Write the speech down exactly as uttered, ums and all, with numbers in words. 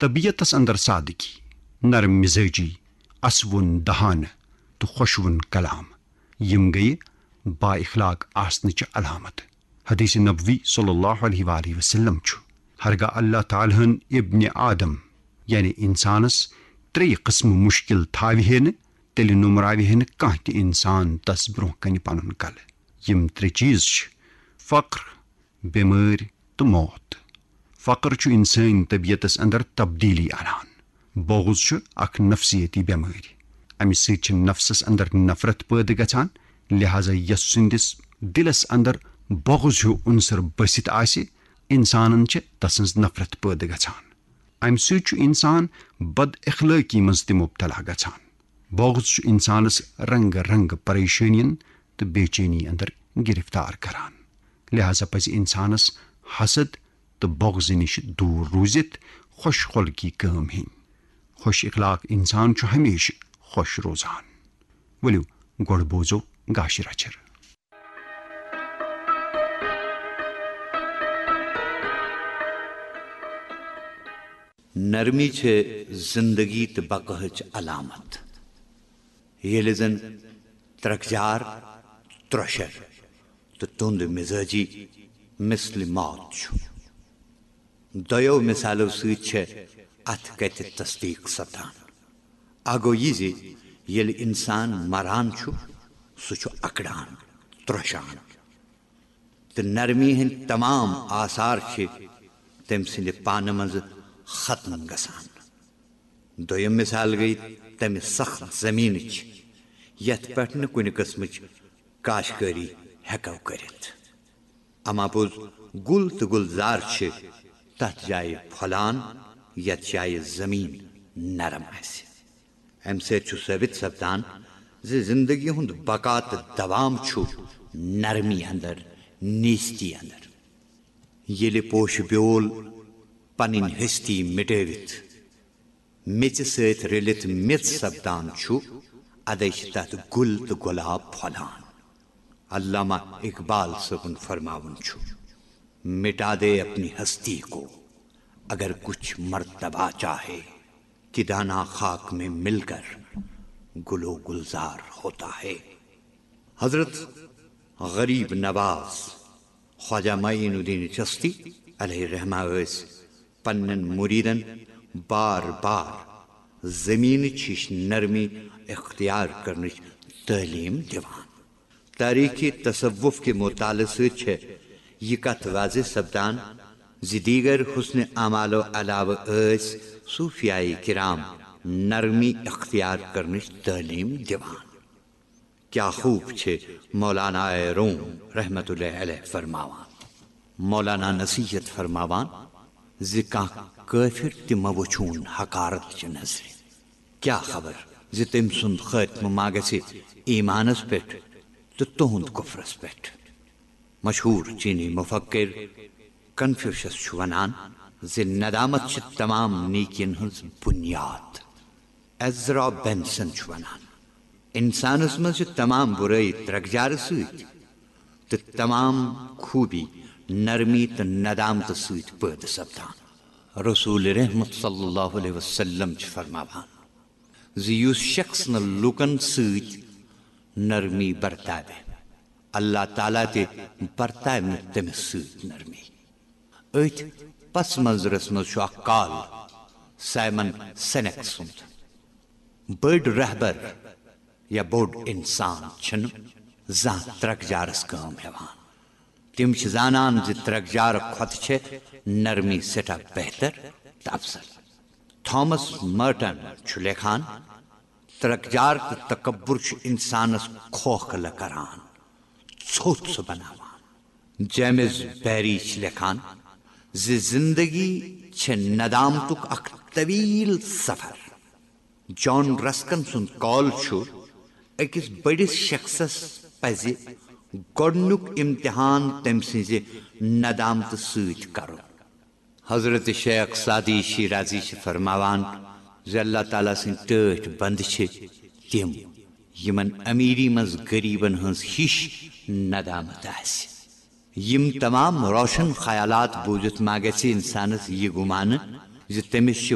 طبیعتس اندر سادگی، نرم مزاجی، اسوُن دہانہٕ تہٕ خۄشوُن کلام، یِم گٔیہِ با اخلاق آسنٕچ علامت۔ حدیث نبوی صلی اللہ علیہ وآلہ وسلم چھُ، ہرگاہ اللہ تعالیٰ ہن ابن آدم، یعنی انسانس، ترٛیٚیہِ قٕسمہٕ مُشکِل تھاوِ ہے نہٕ، تیٚلہِ نومراوِ ہے نہٕ کانٛہہ تہِ انسان تس برونٛہہ کنہِ پنُن کلہٕ۔ یِم ترٛےٚ چیز چھِ: فقر، بیمٲرۍ تہٕ موت۔ فقر چھُ انسٲنی طبیعتس اندر تبدیلی انان۔ بغض چھُ اکھ نفسیٲتی بیمٲرۍ۔ امہِ سۭتۍ چھِ نفسس اندر نفرت پٲدٕ گژھان، لہذا یس سٕنٛدِس دلس اندر بغض ہیو عنصر بٔسِتھ آسہِ، انسانن چھِ تسٕنٛز نفرت پٲدٕ گژھان۔ امہِ سۭتۍ چھُ انسان بد اخلٲقی منٛز تہِ مبتلا گژھان۔ بغض چھُ انسانس رنگہٕ رنگہٕ پریشٲنین تہٕ بے چینی اندر گرفتار کران۔ لہذا پزِ انسانس حسد تہٕ بغض نِش دوٗر روٗزِتھ خۄش خلقی کٲم ہیٚنۍ۔ خۄش اخلاق انسان چھُ ہمیشہٕ خۄش روزان۔ ؤلِو، گۄڈٕ بوزو گاشہِ رچھر۔ نرمی چھِ زندگی تہٕ بقاہٕچ علامت۔ ییٚلہِ زن ترکجار، ترۄشر تہٕ تُند مزاجی مثل موت چھُ۔ دۄیو مثالو سۭتۍ چھےٚ اتھ کتھِ تصدیق سپدان۔ اکھ گوٚو یہِ زِ ییٚلہِ انسان مران چھُ، سُہ چھُ اکڑان، ترۄشان۔ تہٕ نرمی ہٕنٛدۍ تمام آثار چھِ تٔمۍ سٕنٛدِ پانہٕ منٛزٕ ختم گژھان۔ دوٚیِم مثال گٔے تَمہِ سخت زٔمیٖنٕچ، یَتھ پٮ۪ٹھ نہٕ کُنہِ قٕسمٕچ کاشتکٲری ہٮ۪کو کٔرِتھ۔ اما پوٚز، گُل تہٕ گُلزار چھِ تَتھ جایہِ پھۄلان، یَتھ جایہِ زٔمیٖن نرم آسہِ۔ اَمہِ سۭتۍ چھُ ثٲبت سپدان زِ زندگی ہُنٛد بقا تہٕ دوام چھُ نرمی اندر، نیستی اندر۔ ییٚلہِ پوشہٕ بیول پنٕنۍ ہستی مٹٲوِتھ میٚژِ سۭتۍ رٔلِتھ میٚژ سپدان چھُ، ادے چھِ تتھ گُل تہٕ گۄلاب پھۄلان۔ علامہ اقبال صٲبُن فرماوُن چھُ، مٹا دے اپنی ہستی کو، اگر کچھ مرتبہ چاہے، کہ دانہ خاک میں مل کر گل و گلزار ہوتا ہے۔ حضرت غریب نواز خواجہ معین الدین چشتی علیہ رحمہ ٲسۍ پننٮ۪ن مریدن بار بار زمینٕچ ہِش نرمی اختیار کرنٕچ تعلیٖم دِوان۔ تاریخ تصوف کہِ مطالعہٕ سۭتۍ چھےٚ یہِ کتھ واضح سپدان زِ دیگر حسن اعمالو علاوٕ ٲسۍ صوفیاے کرام نرمی اختیار کرنٕچ تعلیٖم دِوان۔ کیا خوب چھِ مولانا روم رحمت اللہ علیہ فرماوان۔ مولانا نصیحت فرماوان زِ کانٛہہ کٲفر تہِ مہ وٕچھون حقارت چہِ نظرِ۔ کیا خبر زِ تٔمۍ سُنٛد خٲتمہٕ ما گژھِ ایمانس پٮ۪ٹھ تہٕ تُہنٛد کفرس پٮ۪ٹھ۔ مشہوٗر چینی مفکر کنفیوشس چھُ ونان زِ ندامت چھِ تمام نیکین ہٕنٛز بنیاد۔ ایزرا بینسن چھُ ونان، انسانس منٛز چھِ تمام برٲیی ترکجارٕ سۭتۍ تہٕ تمام خوٗبی نرمی تہٕ ندامتہٕ سۭتۍ پٲدٕ سپدان۔ رسول رحمت صلی اللہ علیہ وسلم چھُ فرماوان زِ یُس شخص نہٕ لوٗکن سۭتۍ نرمی برتاوِ، اللہ تعالیٰ تہِ برتاوِ نہٕ تٔمِس سۭتۍ نرمی۔ أتھۍ پس منظرس منٛز چھُ اکھ کال سائمن سینیک سُنٛد۔ بٔڑۍ رہبر یا بوٚڑ انسان چھِنہٕ زانٛہہ ترکجارس کٲم ہٮ۪وان۔ تِم چھِ زانان زِ ترکجار کھۄتہٕ چھےٚ نرمی سٮ۪ٹھاہ بہتر تہٕ افضل۔ تھامس مرٹن چھُ لیکھان، ترکجار تہٕ تکبر چھُ انسانس کھوکھلہٕ کران، ژھوٚت سُہ بناوان۔ جیمز بیری چھِ لیکھان زِ زندگی چھےٚ ندامتُک اکھ طویل سفر۔ جان رسکن سُنٛد قول چھُ، أکِس بٔڑِس شخصس پزِ گۄڈٕنیُک امتحان تٔمۍ سٕنٛزِ ندامتہٕ سۭتۍ کرُن۔ حضرت شیخ سعدی شیرازی چھِ فرماوان زِ اللہ تعالیٰ سٕنٛدۍ ٹٲٹھۍ بندٕ چھِ تِم، یِمن امیری منٛز غریبن ہٕنٛز ہِش ندامت آسہِ۔ یِم تمام روشن خیالات بوٗزِتھ ما گژھِ انسانس یہِ گُمانہٕ زِ تٔمِس چھِ